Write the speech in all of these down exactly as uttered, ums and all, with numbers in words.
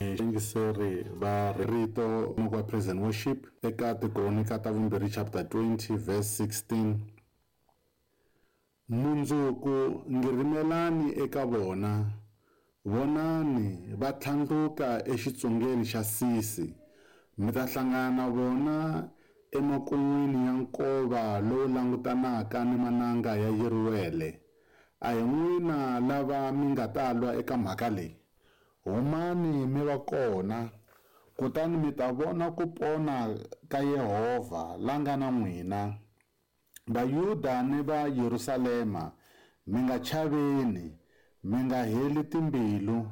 Yingiseri va rito wa praise and worship eka Tikronika ta vumbirhi chapter twenty verse sixteen. Mundzuku ngirimelani eka vona, vonani va tlhandluka exitsungeni xa Sisi, mi ta hlangana na vona emakun'wini ya nkova lowu langutanaka ni mananga ya Yeruwele. A hi n'wina lava mi nga ta lwa eka mhaka leyi. Humani mi va kona, kutani mi ta vona ku pona ka Yehovha la nga na n'wina. Vayuda ni va Yerusalema, mi nga chaveni, mi nga heli timbilu.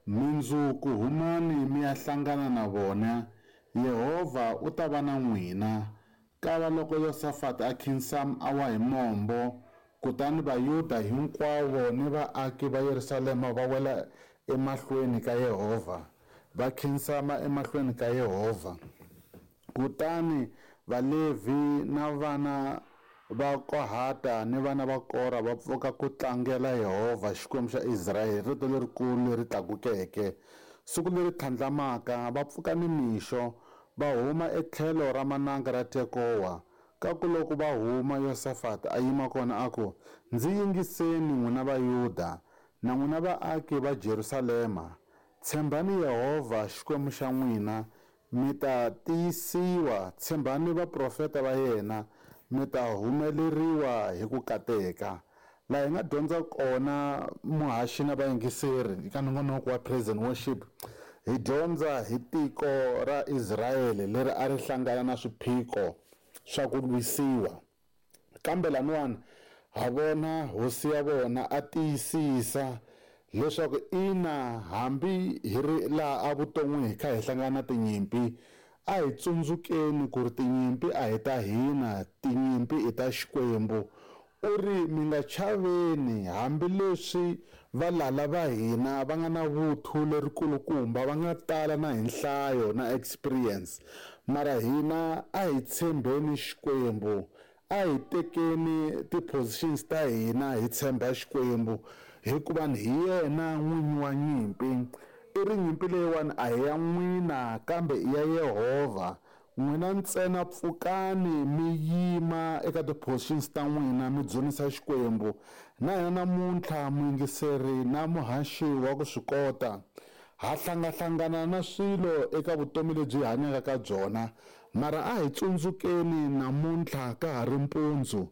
Mundzuku humani mi ya hlangana na vona, Yehovha u ta va na n'wina. Kava loko Yosafati a khinsama a wa hi mombo, kutani Vayuda hinkwavo ni vaaki va Yerusalema va wela emahlweni ka Yehovha, va khinsama emahlweni ka Yehovha. Kutani Valevhi na vana va Kohata ni vana va Kora va pfuka ku tlangela Yehovha Xikwembu xa Israyele, rito lerikulu leri tlakukeke. Siku leri tlhandlamaka va pfuka nimixo, va huma etlhelo ra mananga ra Tekowa. Kakuloko va huma, Yosafati a yima kona a ku, Ndzi yingiseni n'wina Vayuda na n'wina vaaki va Jerusalema, tshembani Yehovha Xikwembu xa n'wina, mi ta tiyisiwa, tshembani vaprofeta va yena, mi ta humeleriwa hi ku kateka. Laha hi nga dyondza kona muhaxi na vayingiseri eka nongonoko wa praise and worship, hi dyondza hi tiko ra Israyele leri a ri hlangana na swiphiqo swa ku lwisiwa. Kambe laniwani ha vona hosi ya vona a tiyisisa leswaku ina, hambi hi ri laha evuton'wini hi kha hi hlangana na tinyimpi, a hi tsundzukeni ku ri tinyimpi a hi ta hina, tinyimpi i ta Xikwembu. U ri mi nga chaveni, hambileswi valala va hina va nga na vuthu lerikulukumba, va nga tala na hi nhlayo na experience, mara hina a hi tshembeni Xikwembu, a hi tekeni ti-positions ta hina hi tshemba Xikwembu, hikuva hi yena n'winyi wa nyimpi. I ri nyimpi leyiwani a hi ya n'wina kambe i ya Yehovha. N'wina ntsena pfukani mi yima eka ti-positions ta n'wina mi dzunisa Xikwembu. Na hina namuntlha muyingiseri na muhaxi wa ku swi kota, ha hlangahlangana na swilo eka vutomi lebyi hi hanyaka ka byona, mara a hi tsundzukeni namuntlha ka ha ri mpundzu,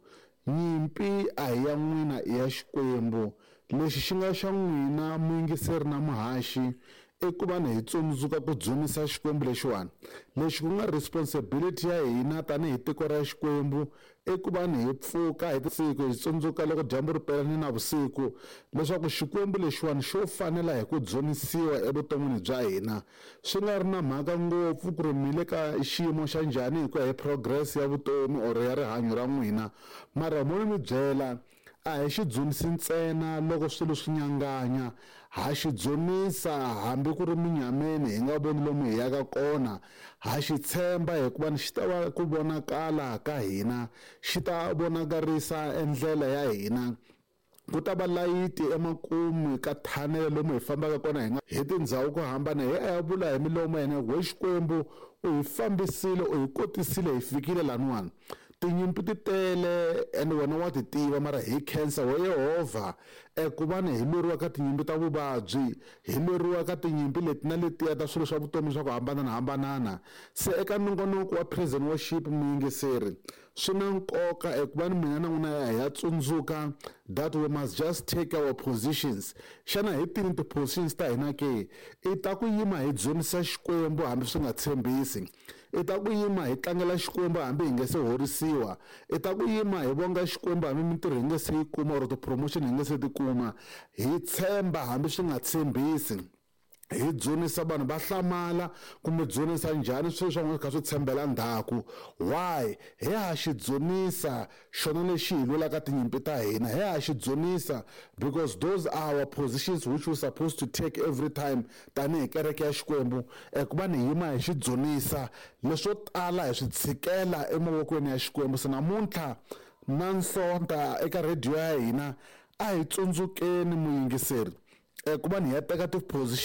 nyimpi a hi ya n'wina i ya Xikwembu. Lexi xi nga xa n'wina muyingiseri na muhaxi i ku va ni hi tsundzuka ku dzunisa Xikwembu lexiwani. Lexi ku nga responsibility ya hina tanihi tiko ra Xikwembu i ku va ni hi pfuka hi siku hi tsundzuka loko dyambu ri pela ni navusiku leswaku Xikwembu lexiwani xo fanela hi ku dzunisiwa evuton'wini bya hina. Swi nga ri na mhaka ngopfu ku ri mi le ka xiyimo xa njhani hi ku ya hi progress ya vutomi or ya rihanyo ra n'wina, mara mo ni mi byela a hi xi dzunisi ntsena loko swilo swi nyanganya, ha xi dzunisa hambi ku ri minyameni hi nga voni lomu hi yaka kona, ha xi tshemba hikuva xi ta va ku vonakala ka hina, xi ta vonakarisa endlela ya hina. Ku ta va layiti emakumu ka thanele lomu hi fambaka kona hi nga hi tindhawu ku hambana, hi ya vula hi milomo ya hina, we Xikwembu u hi fambisile, u hi kotisile, hi fikile laniwani. Tinyimpi ti tele and wena wa ti tiva, mara hi khensa we Yehovha ku va ni hi lweriwa ka tinyimpi ta vuvabyi, hi lweriwa ka tinyimpi leti na letiya ta swilo swa vutomi swa ku hambananahambanana. Se eka nongonoko wa praise and worship muyingiseri, swi na nkoka eku va ni mina na n'wina hi ya tsundzuka that we must just take our positions. Xana hi tini ti-positions ta hina ke? I ta ku yima hi dzunisa Xikwembu hambi swi nga tshembisi, i ta ku yima hi tlangela Xikwembu hambi hi nge se horisiwa, i ta ku yima hi vonga Xikwembu hambi mintirho hi nge se yi kuma or ti-promotion hi nge se ti kuma, hi tshemba hambi swi nga tshembisi, hi dzunisa vanhu va hlamala kumbe dzunisa njhani swilo swa n'wina swi kha swi tshembela ndzhaku. Why? Hi ha xi dzunisa xona lexi hi lwelaka tinyimpi ta hina, hi ha xi dzunisa because those are our positions which we supposed to take every time tanihi kereke ya Xikwembu, eku va ni yima hi xi dzunisa. Leswo tala hi swi tshikela emavokweni ya Xikwembu. Se namuntlha na Nsonta eka radio ya hina a hi tsundzukeni muyingiseri ku va ni hi ya teka ti-positions